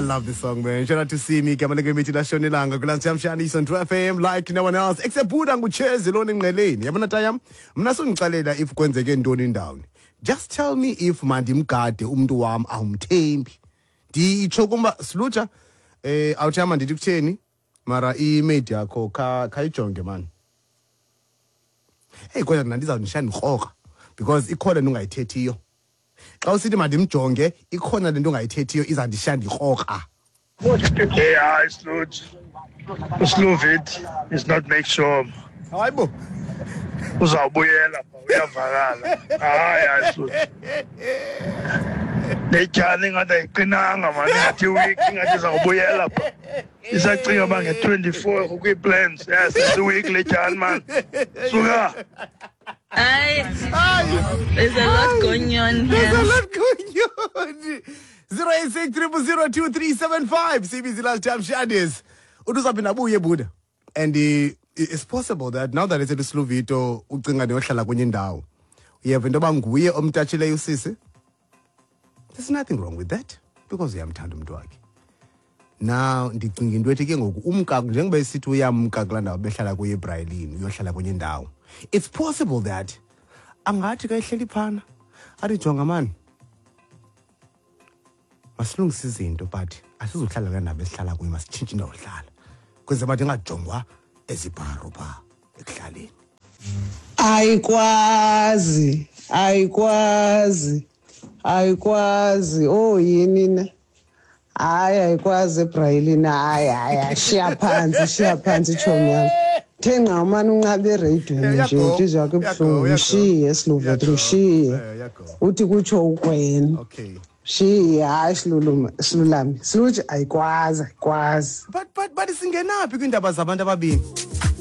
love this song, man. Shout out to Simi, igama lengemithi lashonelanga kulantshamshani on 2 FM like no one else except Buddha nguchezi lona engqeleni. Yabona tayam, mna songixelela if kwenzeke ntoni ndawoni. Just tell me if mandimgade umntu wam awumthembi. Nditsho kumba silutsha eh awuthama ndithi kutheni mara i-maid yakho kha khayijonge man. Hey kodwa mna ndizawundishiya ndikrokra because ikhona into ongayithethiyo. Xa usithi mandimjonge ikhona le nto ongayithethiyo izandishiya ndikrokra. Hey, hayi Sluts. USluvit is not make sure. Hayi bo. Uzawubuyela pha uyavakala. Hayi hayi Sluts. Le tyhani ingathi ayiqinanga mani ingathi iweek ingathi izawubuyela pha. Isacinga uba nge-24 kukwi-plans. Yes, it's a week le tyhani man. Suka. Ay, there's a lot going on There's a here. lot going on. 086 0002375 CBC Last Time Shadis. Uthi uzawuphinda abuye Buddha. And it's possible that now that it's Sluvito ucinga ndiyohlala kwenye indawo. Uyeva into yoba nguye omtatshileyo usisi? There's nothing wrong with that because uyamthanda umntu wakhe. Now ndicinga into ethi ke ngoku umka njengoba esithi uyamka kulaa ndawo behlala kuyo eBrailini uyohlala kwenye indawo. It's possible that angathi ka ehleli phana athi jonga mani masilungise izinto but asizuhlala kulaa ndawo besihlala kuyo masitshintshe indawo yohlala kwenzela uba ndingajongwa ezibharo phaa ekuhlaleni. Ayikwazi, ayikwazi, ayikwazi. Oh yini na? Hayi ayikwazi eBrayilini. Hayi hayi shiya phantsi, shiya phantsi tshomi yam. The nqa umane unqabe ereyidweni nje Uyago, intliziyo yakho uyago, ibuhlungu. uyago. Mshiye Siluvethu, Uyago. mshiye. Uyago. Uthi kutsho ukwena. Okay. Mshiye, hayi siluluma, silulame. Siluthi ayikwazi, ayikwazi. But singenaphi kwiindaba zabantu ababini?